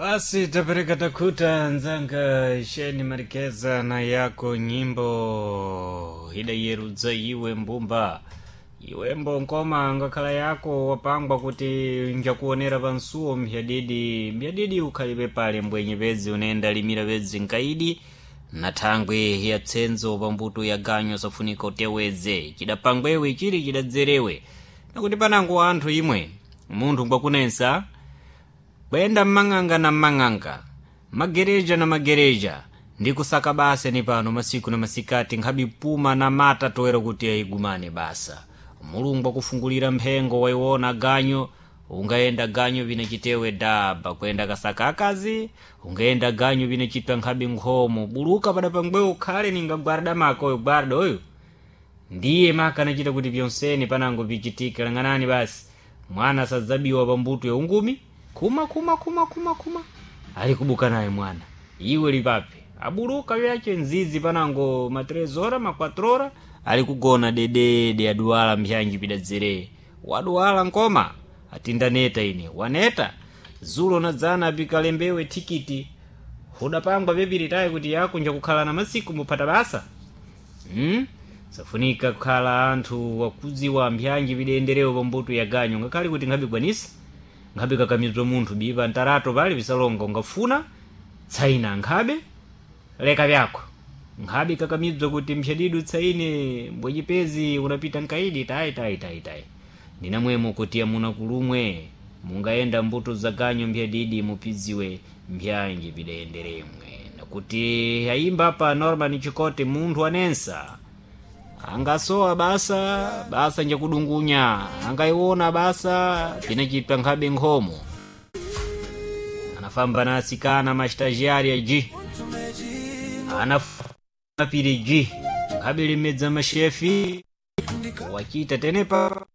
Basi tapereka takuta nzanga sheni marikeza na yako nyimbo ida yerudza iwe mbumba iwembo nkoma ngakhala yako wapangwa kuti njakuonera pansuwo mbyadidi mbyadidi ukhalibe pale mbwenye pedzi unenda limira pedzi nkaidi na thangwe ya tsenzo pambuto ya ganyo safunika uteweze chidapangwewe chili chidadzerewe nakuti panango anthu imwe munthu ngwakunensa kuyenda mmang'anga na mmang'anga, magereja na magereja, ndi kusaka basa ni pano masiku na masikati nkhabe puma na mata toera kuti ayigumane basa. Mulungu akufungulira mphengo waiwona ganyo, ungayenda ganyo vine chitewe daba kuyenda kasaka akazi, ungayenda ganyo vine chitwa nkhabe nkhomo, buluka pada pangwewo ukhale ninga gwarda mako oyo gwarda oyo ndiye maka anachita kuti pyonseni panango pichitika lang'anani basi mwana sadzabiwa pambuto ya ungumi khuma khuma khuma khuma khuma ali kubuka naye mwana iwe lipape abuluka vyache nzizi panango ma 3 ora ma 4 ora ali kugona dedede aduwala mbyanji pidadzere waduwala nkoma atindaneta ine waneta zulo nadzana apikalembewe tikiti hudapangwa pyapiritayi kuti yakunja kukhala na masiku muphata basa. Safunika kukhala anthu wakudziwa mbyanji pidenderewo pambuto ya ganyo ngakhale kuti nkhabigwanisa nkhabe kakamizwa munthu bipa ntarato pali pisalonga ungafuna tsaina nkhabe leka vyako nkhabe kakamizwa kuti mphyadidu tsaine mbwenyepezi unapita nkaidi tayi tayi tayi tayi ndinamwemo kuti amuna kulumwe mungayenda mbuto za ganyo mphyanidi mupidziwe mbyanji pidayenderemwe nakuti ayimba apa Norman Chikote munthu anensa angasowa basa basa njakudungunya angaiwona basa pinachitwa nkhabe nkhomo anafamba na asikana mastagiari aji anapiri ji nkhabe limedza mashefi wachita tenepa.